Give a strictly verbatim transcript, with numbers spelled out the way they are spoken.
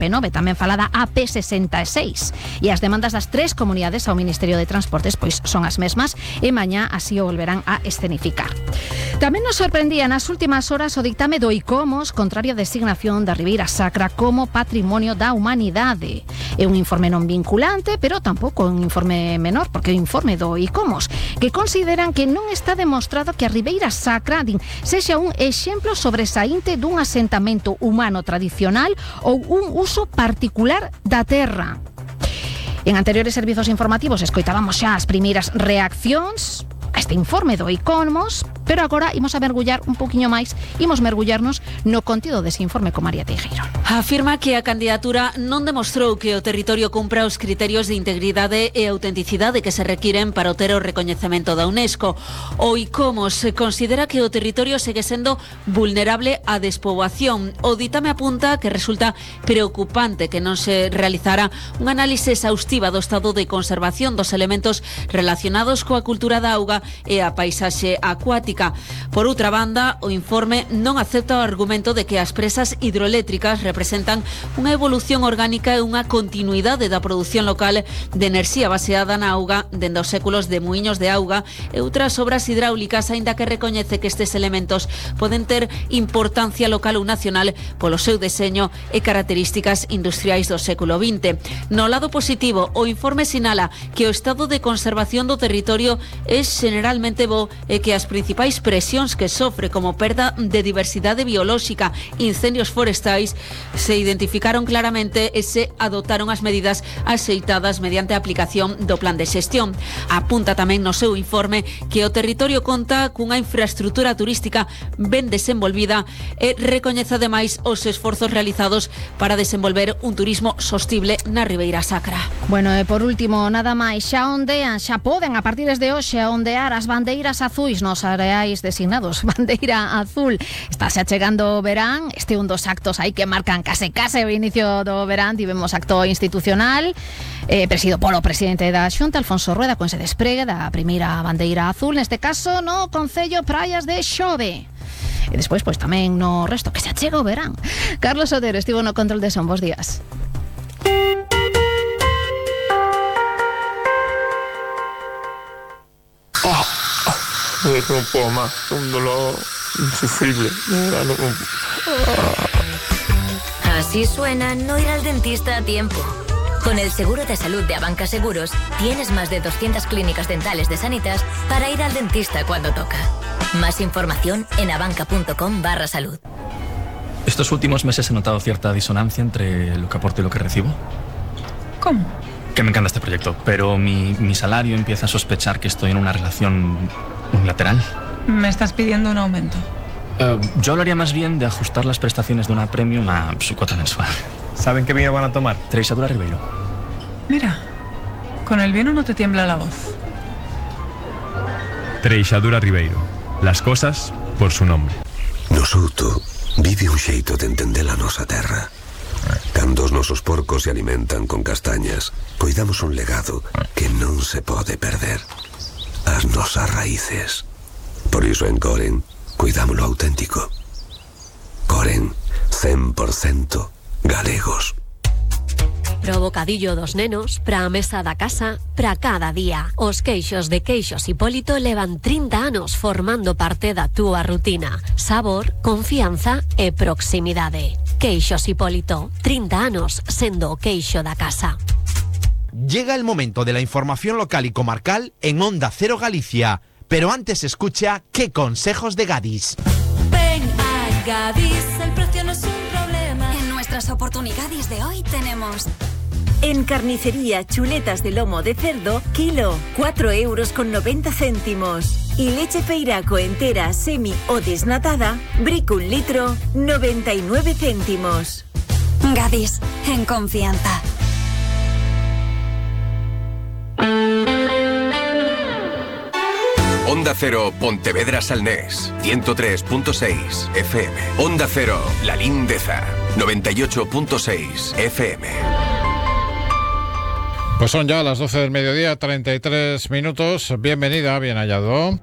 P nove, tamén falada A P sesenta e seis. E as demandas das tres comunidades ao Ministerio de Transportes pois son as mesmas e mañá así o volverán a escenificar. Tamén nos sorprendía nas últimas horas o dictame do ICOMOS contrario a designación da Ribeira Sacra como Patrimonio da Humanidade. É un informe non vinculante, pero tampouco un informe menor, porque é o informe do ICOMOS, que consideran que non está demostrado que a Ribeira Sacra din, sexa un exemplo sobresaínte dun asentamento humano tradicional ou un uso particular da terra. En anteriores servizos informativos escoitábamos xa as primeiras reaccións a este informe do ICOMOS, pero agora imos a mergullar un poquinho máis, imos mergullarnos no contido dese informe con María Teijeiro. Afirma que a candidatura non demostrou que o territorio cumpra os criterios de integridade e autenticidade que se requiren para obter o recoñecemento da UNESCO. O ICOMOS considera que o territorio segue sendo vulnerable á despoboación. O ditame apunta que resulta preocupante que non se realizara un análise exhaustiva do estado de conservación dos elementos relacionados coa cultura da auga e a paisaxe acuática. Por outra banda, o informe non acepta o argumento de que as presas hidroeléctricas representan unha evolución orgánica e unha continuidade da produción local de enerxía baseada na auga dende os séculos de muiños de auga e outras obras hidráulicas, aínda que recoñece que estes elementos poden ter importancia local ou nacional polo seu deseño e características industriais do século vinte. No lado positivo, o informe sinala que o estado de conservación do territorio é generalmente bo e que as principais presións que sofre como perda de diversidade biolóxica, incendios forestais, se identificaron claramente e se adotaron as medidas axeitadas mediante a aplicación do plan de xestión. Apunta tamén no seu informe que o territorio conta cunha infraestructura turística ben desenvolvida e recoñece ademais os esforzos realizados para desenvolver un turismo sostible na Ribeira Sacra. Bueno, e por último, nada máis, xa ondean, xa poden a partir desde hoxe a ondear as bandeiras azuis nos areais designados. Bandeira azul. Está xa chegando o verán, este é un dos actos aí que marcan case case o inicio do verán. Tivemos acto institucional eh, presidido polo presidente da Xunta, Alfonso Rueda, con ese despregue da primeira bandeira azul, neste caso no Concello Praias de Xove. E despois, pois tamén no resto, que xa chega o verán. Carlos Otero estivo no control de son. Bos días. Oh, no puedo más, un dolor insufrible. No, no, no. Así suena no ir al dentista a tiempo. Con el seguro de salud de Abanca Seguros, tienes más de doscientas clínicas dentales de Sanitas para ir al dentista cuando toca. Más información en abanca.com barra salud. Estos últimos meses he notado cierta disonancia entre lo que aporto y lo que recibo. ¿Cómo? Que me encanta este proyecto, pero mi, mi salario empieza a sospechar que estoy en una relación unilateral. ¿Me estás pidiendo un aumento? Uh, yo hablaría más bien de ajustar las prestaciones de una premium a su cuota mensual. ¿Saben qué vino van a tomar? Treixadura Ribeiro. Mira, con el vino no te tiembla la voz. Treixadura Ribeiro. Las cosas por su nombre. No Souto vive un xeito de entender a nosa terra. Cando os nosos porcos se alimentan con castañas, coidamos un legado que non se pode perder. As nosas raíces. Por iso en Coren, cuidámoslo auténtico. Coren, cen por cento galegos. Pro bocadillo dos nenos, pra a mesa da casa, pra cada día. Os queixos de Queixos Hipólito levan trinta anos formando parte da túa rutina. Sabor, confianza e proximidade. Queixos Hipólito, trinta anos sendo o queixo da casa. Llega el momento de la información local y comarcal en Onda Cero Galicia. Pero antes escucha ¿Qué consejos de Gadis? Ven a Gadis, el precio no es un problema. En nuestras oportunidades de hoy tenemos... En carnicería, chuletas de lomo de cerdo, kilo, cuatro euros con noventa céntimos. Y leche Feiraco entera, semi o desnatada, brick un litro, noventa y nueve céntimos. Gadis, en confianza. Onda Cero, Pontevedra Salnés, ciento tres punto seis F M. Onda Cero, La Lindeza, noventa y ocho punto seis F M. Pues son ya las doce del mediodía, treinta y tres minutos. Bienvenida, bien hallado.